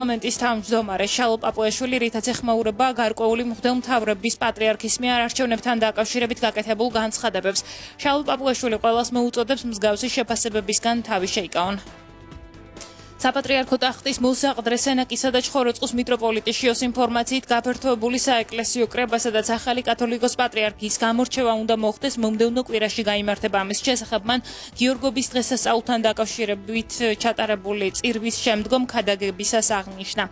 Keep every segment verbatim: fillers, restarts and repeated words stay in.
მომენტის თავმჯდომარე შალო პაპუაშვილი, რითაც ეხმაურება გარკვეული მღვდელმთავრების პატრიარქის მიერ არჩევნებთან დაკავშირებით გაკეთებულ განცხადებებს. შალო პაპუაშვილი ყველას მოუწოდებს მსგავსი შეფასებებისგან თავი შეიკავონ. საპატრიარქო ტახტის მოსაყდრე სენაკისა და ჩხოროწყუს მიტროპოლიტი შიოს ინფორმაციით გაფართოებული საეკლესიო კრება, სადაც ახალი კათოლიკოს პატრიარქის გამორჩევა უნდა მოხდეს მომდევნო კვირაში გაიმართება. ამის შესახებ მან გიორგობის დღესასწაულთან დაკავშირებით ჩატარებული წირვის შემდგომ ქადაგებისას აღნიშნა.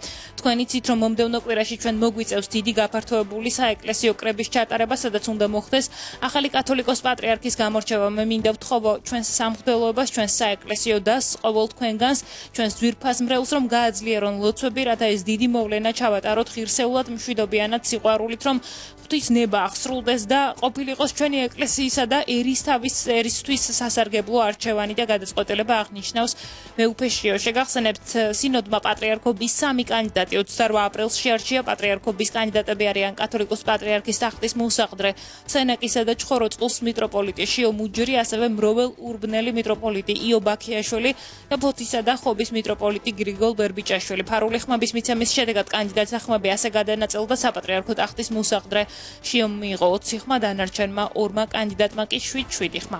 თქვენ იცით, რომ მომდევნო კვირაში ჩვენ მოგვიწევს დიდი გაფართოებული საეკლესიო კრების ჩატარება, სადაც უნდა მოხდეს ახალი კათოლიკოს პატრიარქის გამორჩევა. მე მინდა ვთხოვო ჩვენს სამღვდელოებას, ჩვენს საეკლესიო დასს, ყოველ თქვენგანს, ჩვენს ძვირფას მრევლს, რომ გააძლიერონ ლოცვები, რათა ეს დიდი მოვლენა ჩავატაროთ ღირსეულად, მშვიდობიანად, სიყვარულით, რომ ღვთის ნება აღსრულდეს და ყოფილიყოს ჩვენი ეკლესიისა და ერისთავის ერისთვის სასარგებლო არჩევანი და გადაწყვეტილება, აღნიშნავს მეუფე შიო. შეგახსენებთ, სინოდმა პატრიარქობის სამი კანდიდატი ოცდაოთხ აპრილს შეარჩია. პატრიარქობის კანდიდატები არიან კათოლიკოს პატრიარქის ტახტის მოსაყდრე სენაკისა და ჩხოროწყუს მიტროპოლიტი შიო მუჯური, ასევე მროվել ურბნელი მიტროპოლიტი იო ბაქიაშვილი და ფოთისა და ხობის მიტროპოლიტი გრიგოლ ბერბიჭაშვილი. ფარული ხმების მიცემის შედეგად კანდიდატთა ხმები ასე გადანაწილდა. საპატრიარქო ტახტის მოსაყდრე შიომ მიიღო ოცი ხმა, დანარჩენმა ორმა კანდიდატმა კი შვიდ-შვიდი ხმა.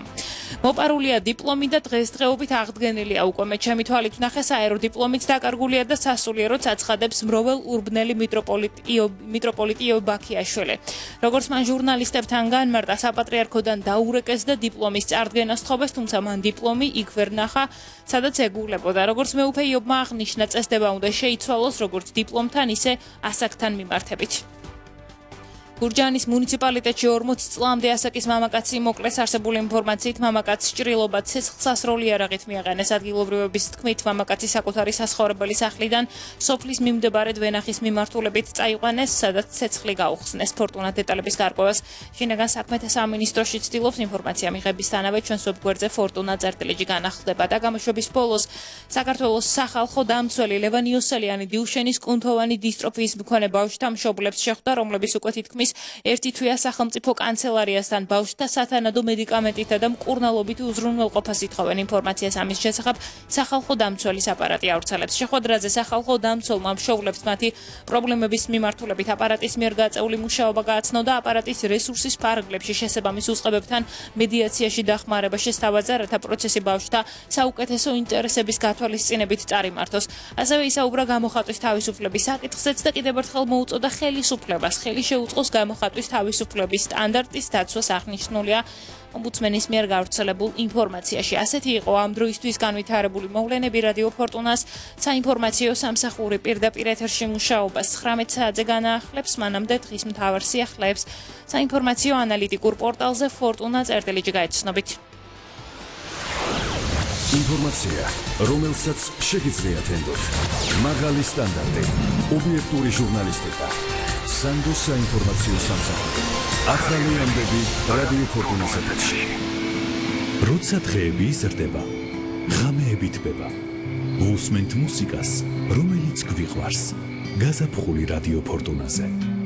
მოპარულია დიპლომი და დღესდღეობით აღდგენილია უკვე. მე ჩემი თვალით ვნახე, საერო დიპლომით დაკარგულია და სასულიეროდ აცხადებს მროվել ურბნელი მიტროპოლიტი იო მიტროპოლიტი იო ბაქიაშვილი. როგორც მან ჟურნალისტებთან განმარტა, საპატრიარქოდან დაურეკეს და დიპლომის წარდგენას თხოვეს, თუმცა მან დიპლომი იქ ვერ ნახა, სადაც ეგულებოდა. როგორც მეუფე იობმა აღნიშნა, წესდება უნდა შეიცვალოს როგორც დიპლომთან, ისე ასაკთან მიმართებით. გურჯაანის მუნიციპალიტეტში ორმოც წლამდე ასაკის მამაკაცი მოკლეს. არსებული ინფორმაციით, მამაკაცს ჭრილობა ცეცხლსასროლი იარაღით მიაყენეს. ადგილობრივების თქმით, მამაკაცი საკუთარი საცხოვრებელი სახლიდან სოფლის მიმდებარე ვენახის მიმართულებით წაიყვანეს, სადაც ცეცხლი გაუხსნეს. ფორტუნა დეტალების გარკვევას შინაგან საქმეთა სამინისტროში ცდილობს. ინფორმაცია მიღებისთანავე ჩვენს ვებგვერდზე ფორტუნა წერტილიჯი განახლდება და გამოშვების ბოლოს საქართველოს სახალხო დამცველი ლევან იოსელიანი დილშენის კუნთოვანი დისტროფიის მქონე ბავშვთა მშობლებს შეხვდა, რომლების უკვე თითქმის ერთი თვეა სახელმწიფო კანცელარიასთან ბავშვთა სათანადო მედიკამენტითა და მკურნალობით უზრუნველყოფას ითხოვენ. ინფორმაციას ამის შესახებ სახალხო დამცველის აპარატი ავრცელებს. შეხვედრაზე სახალხო დამცველმა მშობლებს მათი პრობლემების მიმართულებით აპარატის მიერ გაწეული მუშაობა გააცნო და აპარატის რესურსის ფარგლებში შესაბამის უწყებებთან მედიაციაში დახმარება შესთავაზა, რათა პროცესი ბავშვთა საუკეთესო ინტერესების გათვალისწინებით წარიმართოს. ასევე ისაუბრა გამოხატვის თავისუფლების საკითხზეც და კიდევ ერთხელ მოუწოდა ხელისუფლებას ხელი შეუწყოს გამოხატვის თავისუფლების სტანდარტის დაცვას. აღნიშნულია ომბუდსმენის მიერ გავრცელებულ ინფორმაციაში. ასეთი იყო ამ დროისთვის განვითარებული მოვლენები. რადიო ფორტუნას საინფორმაციო სამსახური პირდაპირ ეთერში მუშაობას ცხრამეტ საათზე განაახლებს. მანამდე დღის მთავარ სიახლეებს საინფორმაციო ანალიტიკურ პორტალზე ფორტუნა წერტილიჯი გაეცნობით. ინფორმაცია, რომელსაც შეგიძლიათ ენდოთ. მაღალი სტანდარტი, ობიექტური ჟურნალისტიკა. სანდოს საინფორმაციო სამსახური. ახალი ამბები რადიო ფორტუნას ეთერში. როცა დღეები იზრდება, ღამეები თბება. უსმენთ მუსიკას, რომელიც გვიყვარს. გაზაფხული რადიო ფორტუნაზე.